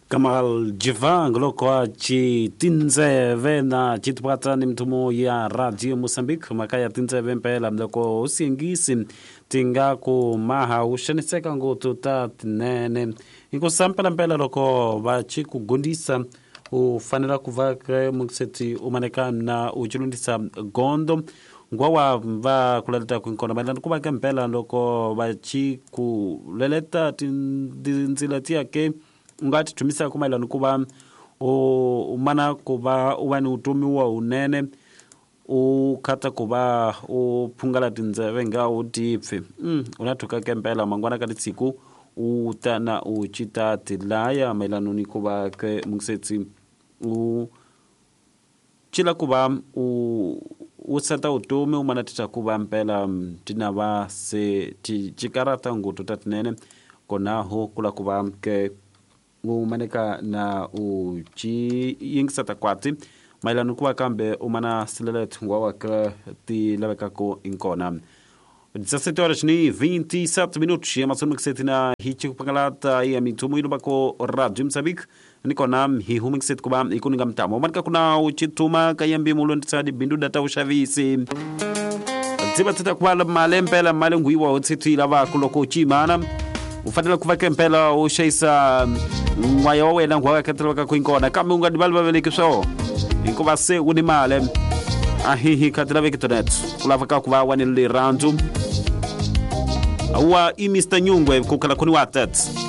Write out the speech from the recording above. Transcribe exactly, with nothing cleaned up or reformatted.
Kamal Jivang loko a ci tindzeve na citipata ni mthumo ya Radio Mozambique mhaka ya tindzeve mpela loko u siyengisi ti nga ku maha u xaniseka ngopfu ta tinene hikusa mpelampela loko va ci ku gondisa u fanela ku va ke mukiseti u maneka na u cilundisa gondo ngwawa va kuleleta ku nkona mayelana ku va ke mpela loko va ci ku leleta tindzila tiya ke u nga ti thumisa ku mayelana ku va u mana ku va u va ni utomi wa unene u khata ku va u phungala tindzeve nga u tipfi mm, u na thuka ke mpela mangwana ka litsiku u ta na u cita tilaya mayelana ni ku va ke muksetsi u cila ku va u u seta utomi u mana tita ku va mpela tina va se ti cikarata ngopfu ta tinene konaho kula ku va ke u maneka na u ci yingiseta kwati mayelana ku va kambe u mana silela thungwa wa ke ti lavekako inkona dezessete horas e vinte e sete minutos e amatsoni mukiseti na hichi kupangalata ya mithumo ilu bako Radio Mozambique nikona hi humi kiseti kuba ikuninga mtamo manika kuna uchituma kayambi mulo nditsadi bindu data ushavisi dziba tita kubala malempela malengwiwa utsithu lava kuloko uchimana u fanele ku va ke mpela u xayisa n'waya wa wena ngwa khatalaka ku inkona kambe u nga divali vaveleki swo hikuva se u ni mali ahihi khatilaveki tonet ku lava ka ku va wa ni rirhandzu wa i Mister Nyungwe ku khala khoni wa tet.